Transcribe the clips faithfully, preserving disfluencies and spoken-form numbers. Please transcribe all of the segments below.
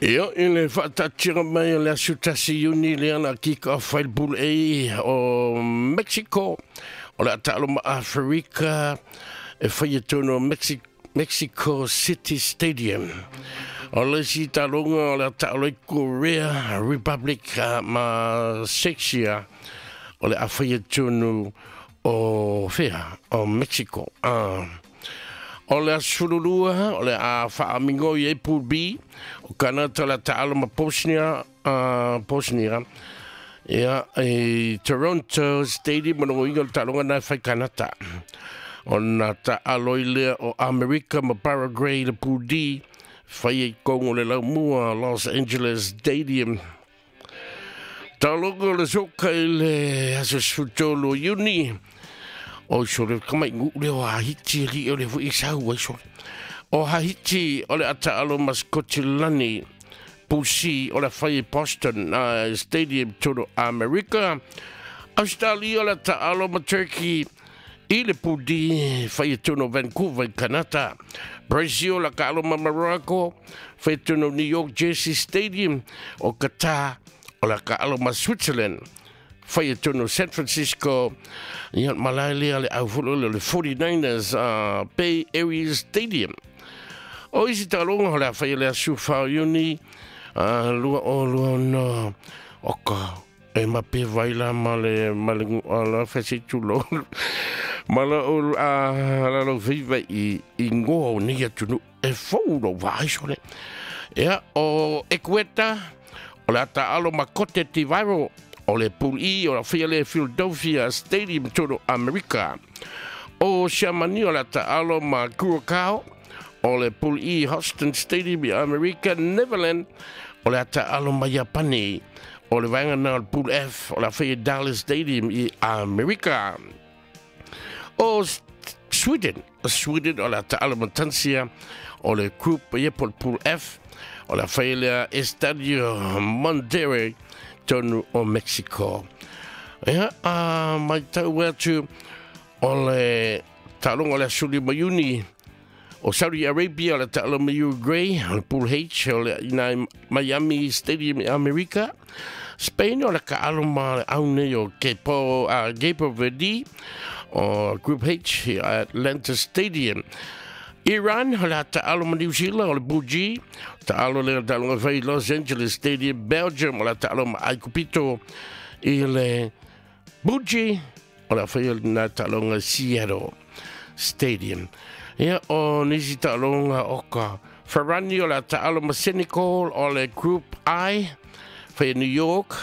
Ia i le faataatiga mai o le aso tasi Iuni lea na kika off ai le Pool A o Mexico o le a taalo ma Aferika e faia tonu o Mexi Mexico City Stadium. O le isi taaloga o le a taalo ai Korea Republic ma Czechia o le a faia tonu o fea o Mexico. Ah. O le aso lua o le a faamigoi ai Pool B o Kanata le a taalo ma Bosnia, uh, Bosnia ia i Toronto Stadium o logoiga o le taaloga na e fai Kanata. Ona taalo i lea o Amerika ma Paraguay le Pool D fai ai kongo le laumua Los Angeles Stadium. Taaloga o le soka i le aso sefulutolu o Iuni o sole kamai ngu le o Hahiti li o le fui sau ai sole. O Hahiti o le a taalo ma Scotland Pool C o le fai Boston uh, Stadium tonu Amerika. Australia o le a taalo ma Turkey i le Pool D fai tonu Vancouver i Canada. Brazil o le taalo ma Morocco fai tonu New York Jersey Stadium. O Qatar o le taalo ma Switzerland fai tonu San Francisco. Ia malae lea le au fulu le forty-niners uh, Bay Area Stadium. O isi taaloga o le a fai le aso fa o Iuni uh, lua o lua no o ka e mape vai la ma le ma le la fasi tulo ma la o a la lo viva i i ngoa o nei atunu e fou lo vai sole. Ia o Equeta o le a taalo ma Cote d'Ivoire o le Pool E o la fia le Philadelphia Stadium tonu Amerika. O Siamani o le a taalo ma Curacao o le Pool E Houston Stadium i Amerika. Neverland o le a taalo ma Iapani o le vaega na o le Pool F o la fia Dallas Stadium i Amerika. O Sweden, Sweden o le a taalo ma Tansia o le Group ia po le Pool F o la fia le Estadio Monterrey tonu o Mexico. Ia, a mai tau atu o le taaloga o le aso lima Iuni o Saudi Arabia o le taalo ma Uruguay o le Pool H o le ina Miami Stadium i Amerika. Spain o le kaalo ma le au nei o Capo, uh, Capo Verde o Group H i Atlanta Stadium. Iran o le a taalo ma New Zealand o le Pool G taalo le taaloga fai Los Angeles Stadium. Belgium o le a taalo ma Aikupito i le Pool G o le a fai na taaloga Seattle Stadium. Ia o nisi taaloga o ka Ferrani o le a taalo ma Senegal o le Group I fai New York.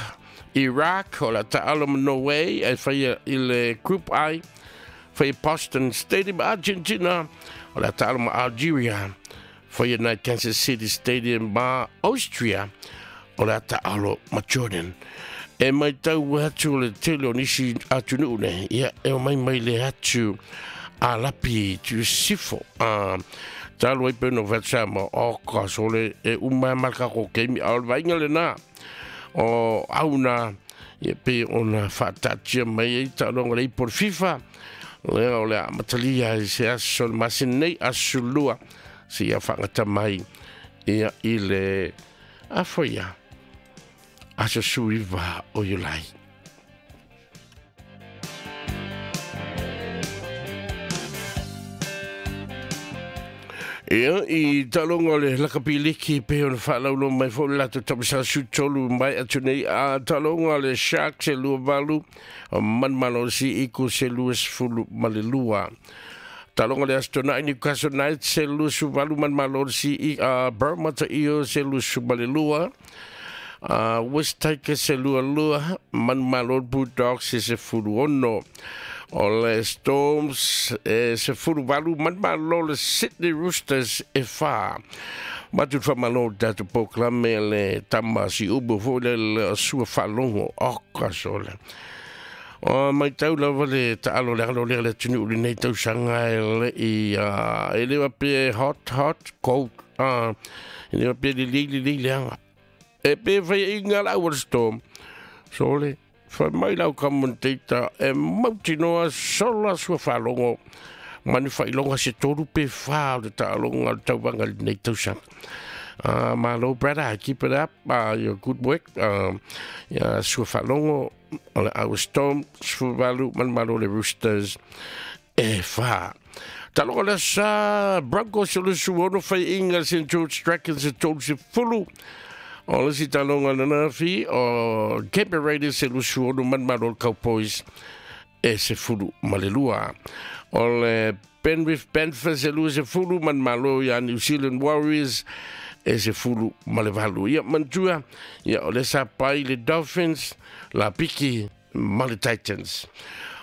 Iraq o le a taalo ma Norway e fai i le Group I fai Boston Stadium. Argentina o le a taalo ma Algeria fai na Kansas City Stadium. Ma Austria o le a taalo ma Jordan. E mai tau atu le tele o nisi atunuu nei ia e o mai mai le atu a lapi tu sifo a talo ai peno vatsama o ka sole e uma marka ko kemi al vainga le na o auna ia pe ona faatatia mai ai taaloga le ipo FIFA lea o le a matalia i se aso le masina nei aso lua se ia faagata mai ia i le afoia aso suiva o Iulai. Ia, i taaloga o le lakapiliki pe ona faalaulo mai foi le latou tamasa sutolu mai atu nei a taaloga o le Sharks e lua valu manumalosi Eagles se lua sefulu ma le lua. Taaloga o le aso tona'i Newcastle Knights se lua suvalu manumalosi uh, Parramatta Eels se lua ma le lua. Uh, West Tigers se lua lua manumalo Bulldogs se sefulu ono. O le Storms e sefulu valu manumalo le Sydney Roosters e fa. Matu whamalo tatu pōklame le tama si ubu fo le le sua whalongo o ka sole. O mai tau lava le taalo le alo le le tunu uli nei tau sanga e le i uh, e lewa pe hot hot cold uh, e lewa pe li li li li leanga. E pe whai inga la ua storm. Sole, whai mai lau kamunteita e mautinoa sola sua whalongo. Manu whailonga se toru pe wha o le taalonga o le tauanga li nei tausanga. Uh, malo brother, keep it up, uh, your good work. Uh, ia sua whalongo o le Our Storm, sfuvalu manumalo le Roosters e wha. Taloga le sa Broncos o le suono whai inga Saint George Dragons e tolu se fulu. O le si taloga nana fi o Cape Raiders e le suono manumalo le Cowboys e se fulu malelua. O le Penrith Panthers e lua se fulu manumalo ia New Zealand Warriors e se fulu malevalu. Ia mantua, ia o le sa pai le Dolphins, la piki ma le Titans.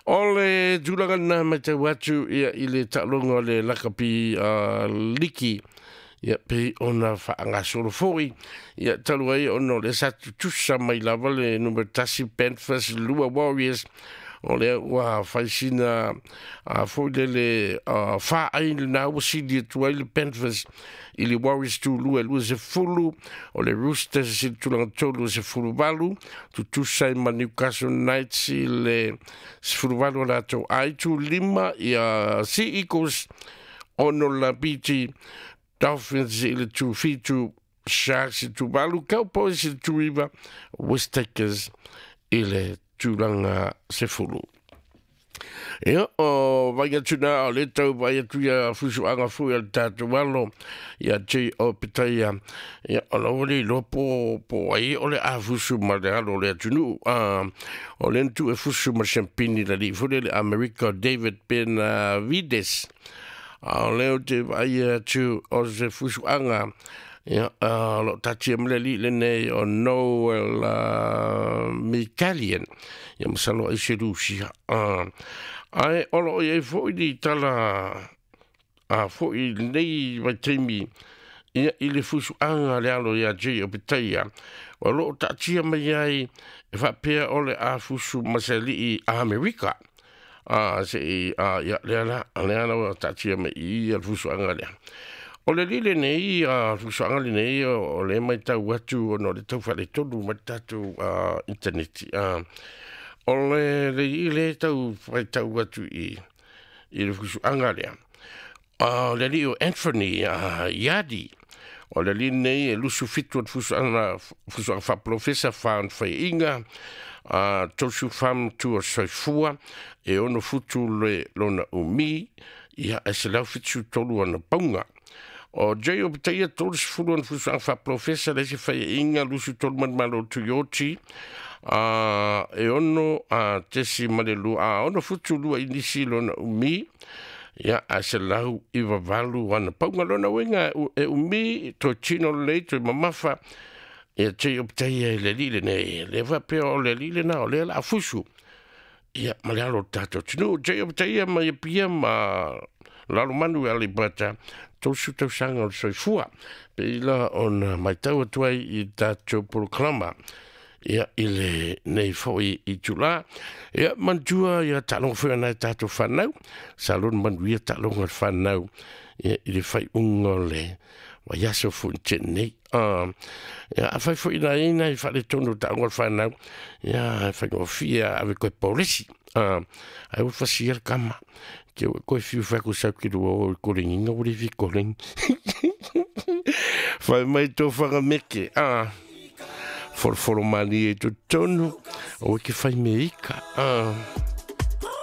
O le tulaga na mai tau atu ia i le taaloga o le lakapi uh, liki ia pe ona whaangasolo foi ia talu ai ona o le sa tutusa mai lava le numera tasi Panthers lua Warriors o lea ua faisina a foi lele wha ai na ua sili atu ai le Panthers i le Warriors tu lua lua se fulu o le Roosters se tulaga tolu se fulu valu tutusa i ma Newcastle Knights i le se fulu valu o latou ai tu lima ia Sea Eagles ono la P T Dolphins i le tu fitu, Sharks i tu valu, Cowboys i le tu iva, West Tigers i le tulaga sefulu. Ia, o vai atu nā o le tau vai atu ia fusuanga fui al tātou alo ia J O Petaia ia o lau le iloa po, po ai o le a fusu ma le alo le atunu. Uh, o le ntu e fusu ma champini la li fule le Amerika David Benavides. A o leo te vai atu o se fusuanga ia uh, lo tatia mle li le nei o Noel uh, Mikalian ia masalo ai se Rusia. Uh, ai olo i ai foi ni tala a foi nei vai taimi ia i le fusuanga le alo ia J O Petaia o lo tatia mai ai e faapea o le a fusu masali i Amerika. A se i a ia le ala le ala o tatia mai i le fusuanga lea. O le lile nei, a fusuanga le nei, o le mai tau atu, o no le tau whale tonu mai tātou uh, internet. Uh, o le le i le tau whai tau atu i, i le fusuanga lea. Uh, le li o Anthony uh, Yadi, o le li nei e lusu fitu o fusuanga, fusuanga whaprofesa whaan whai inga, uh, tosu wham tu o soifua, e ono futu le lona umi, ia e se lau fitu tolu ana paunga. O J O Petaia tolu sefulu ana fusuanga whaprofesa le se whai inga lusu tolu manumalo Toyoti, uh, e ono uh, tesi malelu, a ono futu lua inisi lona umi, ia a se lau i vavalu ana paunga lona uenga e umi, toi tino lei, toi mamafa, ia J O Petaia i le lile nei, le whapea o le lile na, o le la fusu. Ia, ma le alo tātou tinu, J O Petaia ma ia pia ma lalo manu e alibata, tosu tausaga o le soifua. Pe ila ona mai tau atu ai i tātou polokalama. Ia i le nei foi i tula. Ia mantua ia taaloga foi ana e tātou whanau. Sa lona manuia taaloga le whanau. Ia i le whai unga o le vaiaso foi te nei. Uh, ia a whai foi na ina i whale tonu taaloga le whanau. Ia whai ngofia ave koe polisi. Uh, ai ua whasia le kama. Ke koe fiu whaku sau ki rua o korenginga o le fi koreng. Whai mai tō whangameke. Ah. Foroforo mani e tō tonu. O ke whai me ika. Ah.